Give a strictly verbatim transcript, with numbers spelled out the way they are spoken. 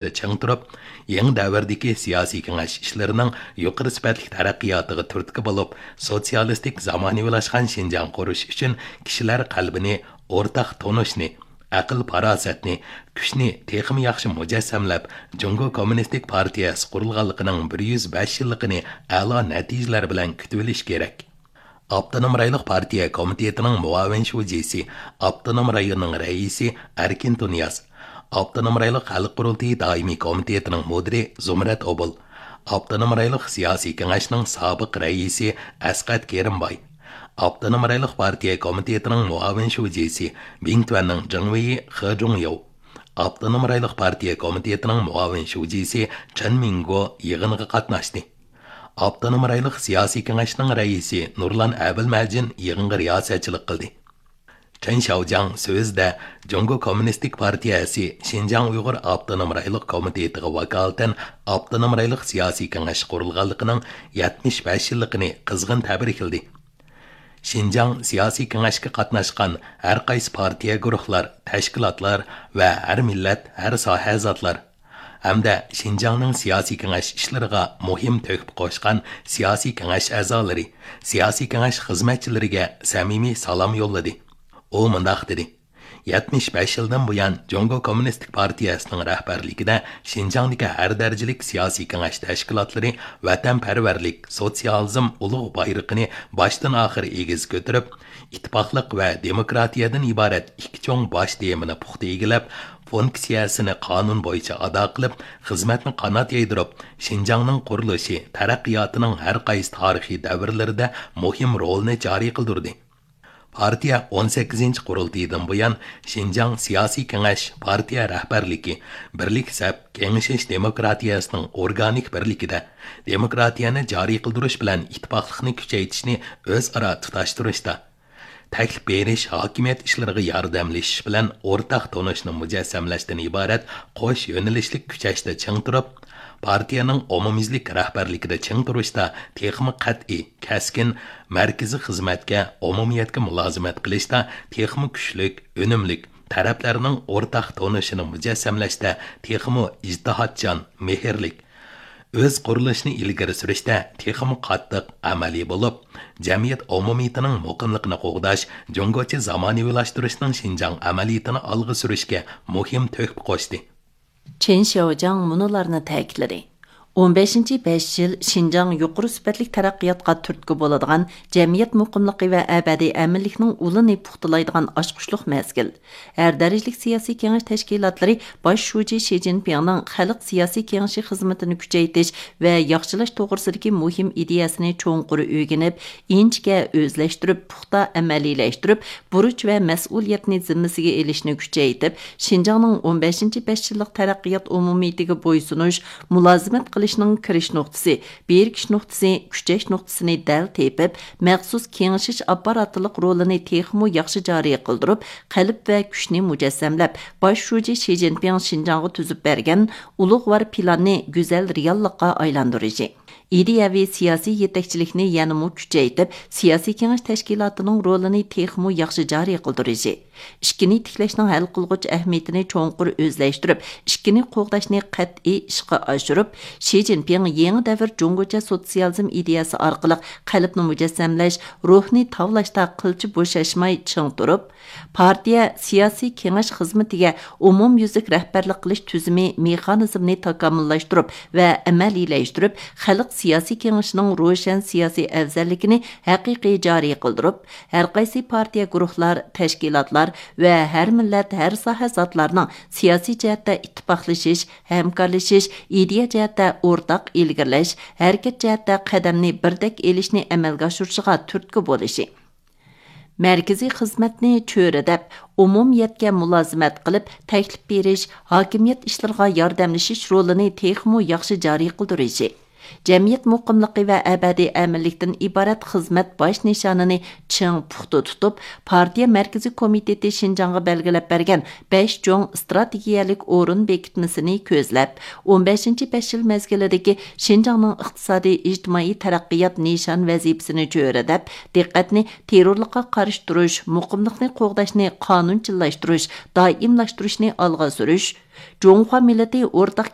چىڭ تۇرۇپ، يېڭى دەۋردىكى سىياسىي كېڭەش ئىشلىرىنىڭ يۇقىرى سۈپەتلىك تەرەققىياتىغا تۈرتكە بولۇپ، سوتسىيالىستىك زامانىۋىلاشقان شىنجاڭ قۇرۇش ئۈچۈن كىشىلەر قەلبىنى، ئورتاق تونۇشنى، ئەقىل-پاراسەتنى، كۈچنى تېخىمۇ ياخشى مۇجەسسەملەپ، جۇڭگو كوممۇنىستىك پارتىيەسى قۇرۇلغانلىقىنىڭ بىر يۈز بەش يىللىقىنى ئەلا نەتىجىلەر بىلەن كۈتۈۋېلىش كېرەك. ئاپتونوم رايونلۇق پارتىيە كومىتېتىنىڭ مۇئاۋىن شۇجىسى، ئاپتونوم رايوننىڭ رەئىسى ئەركىن تۇنىياز، ئاپتونوم رايونلۇق خەلق قۇرۇلتىيى دائىمىي كومىتېتىنىڭ مۇدىرى زۇمرەت ئوبۇل، ئاپتونوم رايونلۇق سىياسىي كېڭەشنىڭ سابىق رەئىسى ئەسقەت كېرىمباي، ئاپتونوم رايونلۇق پارتىيە كومىتېتىنىڭ مۇئاۋىن شۇجىسى، بىڭتۈەننىڭ جېڭۋېيى خې جۇڭياۋ، ئاپتونوم رايونلۇق پارتىيە كومىتېتىنىڭ مۇئاۋىن شۇجىسى چېن مىڭگو يىغىنغا قاتناشتى. ئاپتونوم رايونلۇق سىياسىي كېڭەشنىڭ رەئىسى نۇرلان ئەبىلمەجىن يىغىنغا رىياسەتچىلىك قىلدى. چېن شياۋجياڭ سۆزىدە، جۇڭگو كوممۇنىستىك پارتىيەسى شىنجاڭ ئۇيغۇر ئاپتونوم رايونلۇق كومىتېتىغا ۋاكالىتەن ئاپتونوم رايونلۇق سىياسىي كېڭەش قۇرۇلغانلىقىنىڭ يەتمىش بەش يىللىقىنى قىزغىن تەبرىكلىدى. شىنجاڭ سىياسىي كېڭەشكە قاتناشقان ھەر قايسى پارتىيە، گۇرۇھلار، تەشكىلاتلار ۋە ھەر مىللەت، ھەر ساھە زاتلار ھەمدە شىنجاڭنىڭ سىياسىي كېڭەش ئىشلىرىغا مۇھىم تۆھپە قوشقان سىياسىي كېڭەش ئەزالىرى، سىياسىي كېڭەش خىزمەتچىلىرىگە سەمىمىي سالام يوللىدى. ئۇ مۇنداق دېدى: يەتمىش بەش يىلدىن بۇيان، جۇڭگو كوممۇنىستىك پارتىيەسىنىڭ رەھبەرلىكىدە شىنجاڭدىكى ھەر دەرىجىلىك سىياسىي كېڭەش تەشكىلاتلىرى ۋەتەنپەرۋەرلىك، سوتسىيالىزم ئۇلۇغ بايرىقىنى باشتىن ئاخىر ئېگىز كۆتۈرۈپ، ئىتتىپاقلىق ۋە دېموكراتىيەدىن ئىبارەت ئىككى چوڭ باش تېمىنى پۇختا ئىگىلەپ، فۇنكسىيەسىنى قانۇن بويىچە ئادا قىلىپ، خىزمەتنى قانات يايدۇرۇپ، شىنجاڭنىڭ قۇرۇلۇشى، تەرەققىياتىنىڭ ھەر قايسى تارىخىي دەۋرلىرىدە مۇھىم رولىنى جارى قىلدۇردى. پارتىيە ئون سەككىزىنچى قۇرۇلتىيىدىن بۇيان، شىنجاڭ سىياسىي كېڭەش، پارتىيە رەھبەرلىكى، بىرلىك سەپ، كېڭىشىش دېموكراتىيەسىنىڭ ئورگانىك بىرلىكىدە، دېموكراتىيەنى جارى قىلدۇرۇش بىلەن ئىتتىپاقلىقنى كۈچەيتىشنى ئۆزئارا تۇتاشتۇرۇشتا، تەكلىپ بېرىش، ھاكىمىيەت ئىشلىرىغا ياردەملىشىش بىلەن ئورتاق تونۇشنى مۇجەسسەملەشتىن ئىبارەت قوش يۆنىلىشلىك كۈچەشتە چىڭ تۇرۇپ، پارتىيەنىڭ ئومۇميۈزلۈك رەھبەرلىكىدە چىڭ تۇرۇشتا تېخىمۇ قەتئىي، كەسكىن، مەركىزىي خىزمەتكە، ئومۇمىيەتكە مۇلازىمەت قىلىشتا تېخىمۇ كۈچلۈك، ئۈنۈملۈك، تەرەپلەرنىڭ ئورتاق تونۇشىنى مۇجەسسەملەشتە تېخىمۇ ئىجتىھاتچان، مېھىرلىك، ئۆز قۇرۇلۇشىنى ئىلگىرى سۈرۈشتە تېخىمۇ قاتتىق، ئەمەلىي بولۇپ، جەمئىيەت ئومۇمىيىتىنىڭ مۇقىملىقىنى قوغداش، جۇڭگوچە زامانىۋىلاشتۇرۇشنىڭ شىنجاڭ ئەمەلىيىتىنى ئالغا سۈرۈشكە مۇھىم تۆھپە قوشتى. چېن شياۋجياڭ مۇنۇلارنى تەكىتلىدى: ئون بەشىنچى بەش يىل شىنجاڭ يۇقىرى سۈپەتلىك تەرەققىياتقا تۈرتكە بولىدىغان، جەمئىيەت مۇقىملىقى ۋە ئەبەدىي ئەمىنلىكنىڭ ئۇلىنى پۇختىلايدىغان ئاچقۇچلۇق مەزگىل. ھەر دەرىجىلىك سىياسىي كېڭەش تەشكىلاتلىرى باش شۇجى شى جىنپىڭنىڭ خەلق سىياسىي كېڭىشى خىزمىتىنى كۈچەيتىش ۋە ياخشىلاش توغرىسىدىكى مۇھىم ئىدىيەسىنى چوڭقۇر ئۆگىنىپ، ئىنچىكە ئۆزلەشتۈرۈپ، پۇختا ئەمەلىيلەشتۈرۈپ، بۇرچ ۋە مەسئۇلىيەتنى زىممىسىگە ئېلىشنى كۈچەيتىپ، شىنجاڭنىڭ ئون بەشىنچى بەش يىللىق تەرەققىيات ئومۇمىيىتىگە بويسۇنۇش، مۇلازىمەت قىلىشنىڭ كىرىش نۇقتىسى، بىرىكىش نۇقتىسى، كۈچەش نۇقتىسىنى دەل تېپىپ، مەخسۇس كېڭىشىش ئاپپاراتلىق رولىنى تېخىمۇ ياخشى جارى قىلدۇرۇپ، قەلب ۋە كۈچنى مۇجەسسەملەپ، باش شۇجى شى جىنپىڭ شىنجاڭغا تۈزۈپ بەرگەن ئۇلۇغۋار پىلاننى گۈزەل رېئاللىققا ئايلاندۇرۇشى، ئىدىيەۋى سىياسىي يېتەكچىلىكنى يەنىمۇ كۈچەيتىپ، سىياسىي كېڭەش تەشكىلاتىنىڭ رولىنى تېخىمۇ ياخشى جارى قىلدۇرۇشى، ئىككىنى تىكلەشنىڭ ھەل قىلغۇچ ئەھمىيىتىنى چوڭقۇر ئۆزلەشتۈرۈپ، ئىككىنى قوغداشنى قەتئىي ئىشقا ئاشۇرۇپ، شى جىنپىڭ يېڭى دەۋر جۇڭگوچە سوتسىيالىزم ئىدىيەسى ئارقىلىق قەلبنى مۇجەسسەملەش، روھنى تاۋلاشتا قىلچە بوشاشماي چىڭ تۇرۇپ، پارتىيە سىياسىي كېڭەش خىزمىتىگە ئومۇميۈزلۈك رەھبەرلىك قىلىش تۈزۈمى مېخانىزمىنى تاكامۇللاشتۇرۇپ ۋە ئەمەلىيلەشتۈرۈپ، خەلق سىياسىي كېڭىشىنىڭ روشەن سىياسىي ئەۋزەللىكىنى ھەقىقىي جارى قىلدۇرۇپ، ھەر قايسى پارتىيە، گۇرۇھلار، تەشكىلاتلار ۋە ھەر مىللەت، ھەر ساھە زاتلارنىڭ سىياسىي جەھەتتە ئىتتىپاقلىشىش، ھەمكارلىشىش، ئىدىيە جەھەتتە ئورتاق ئىلگىرىلەش، ھەرىكەت جەھەتتە قەدەمنى بىردەك ئېلىشنى ئەمەلگە ئاشۇرۇشىغا تۈرتكە بولۇشى، مەركىزىي خىزمەتنى چۆرىدەپ، ئومۇمىيەتكە مۇلازىمەت قىلىپ، تەكلىپ بېرىش، ھاكىمىيەت ئىشلىرىغا ياردەملىشىش رولىنى تېخىمۇ ياخشى جارى قىلدۇرۇشى، جەمئىيەت مۇقىملىقى ۋە ئەبەدىي ئەمىنلىكتىن ئىبارەت خىزمەت باش نىشانىنى چىڭ پۇختا تۇتۇپ، پارتىيە مەركىزىي كومىتېتى شىنجاڭغا بەلگىلەپ بەرگەن بەش چوڭ ئىستراتېگىيەلىك ئورۇن بېكىتمىسىنى كۆزلەپ، ئون بەشىنچى بەش يىل مەزگىلىدىكى شىنجاڭنىڭ ئىقتىسادىي، ئىجتىمائىي تەرەققىيات نىشان ۋەزىپىسىنى چۆرىدەپ، دىققەتنى تېررورلۇققا قارشى تۇرۇش، مۇقىملىقنى قوغداشنى قانۇنچىللاشتۇرۇش، دائىملاشتۇرۇشنى ئالغا سۈرۈش، جۇڭخۇا مىللىتى ئورتاق